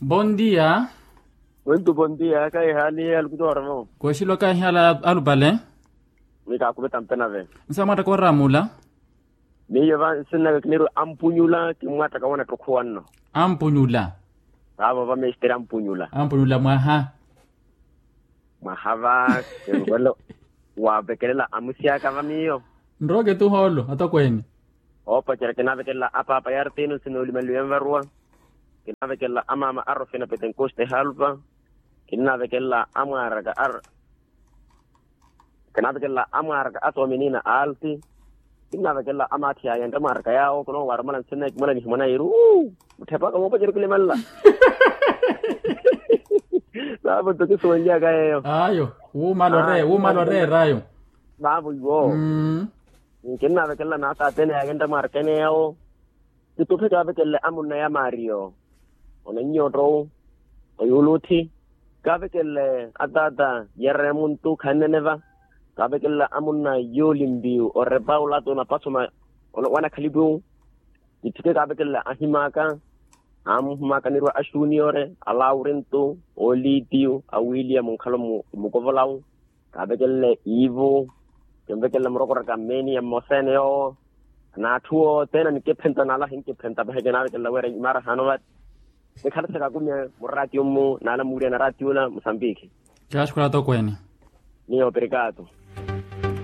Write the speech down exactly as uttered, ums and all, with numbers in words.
Bondia. Muntu bondia kaihali alukutoromo. Kwexilo kaihali alupale. Ni kakuveta mpenave. Nsamwatta koramula. Miyo va nsinnaka kiniru ampunyula kimwatta kawana ttukhuwanno. Ampunyula. Vavo va mestere ampunyula. Ampunyula mwaha. Mwaha va kinwelo wavekelela amusi aka va miyo. Nrooke tu hoolo atokweene. Oopacerya kinavekelela apaapa yartino sinoolimanliwe nvarwa. Kinavekelela amaama arofina petenkoste halpa. Kinavekelela amwaraka ar kinavekelela amwaraka asoomenina alti. Kinavekelela amathi aya ntamwaraka yawo kuno warumala nsinna ekimala nihimwana yiri. Mutthepaka moopacerya kilimanla. Vavo nto kisuwenlyaka yeyo. Ayo. Wumala oreera ayo. Vavo iwo. Kinnavekelela naataatene yake ntamwaraka ene yawo. Kituphe kaavekelele amunna ya mario, onannyootta owu oyuluthi. Kaavekelele ataata yerre muntu khanneneva. Kaavekelele amunna yoolimpiyu orepa ulato napasoma wanakhalipiwu. Kitthike kaavekelele ahimaaka. Amuhumaaka anirwa a xuniore a laurintu oolitiyu a william nkhala mukovolawu. Kaavekelele iivu. Kinvekelele murokoraka mmeeni ya mmosa ene yoowo. N'atthu othene anikiphenta nala hinkiphenta pahi kinaavekelele wira imaara haano vati. Nikhalasa kakumya muraatiyo mmu nala muwiriyana raatiyo ola musambiki. Kaaxukhula atokweene. Miyo pirikaato.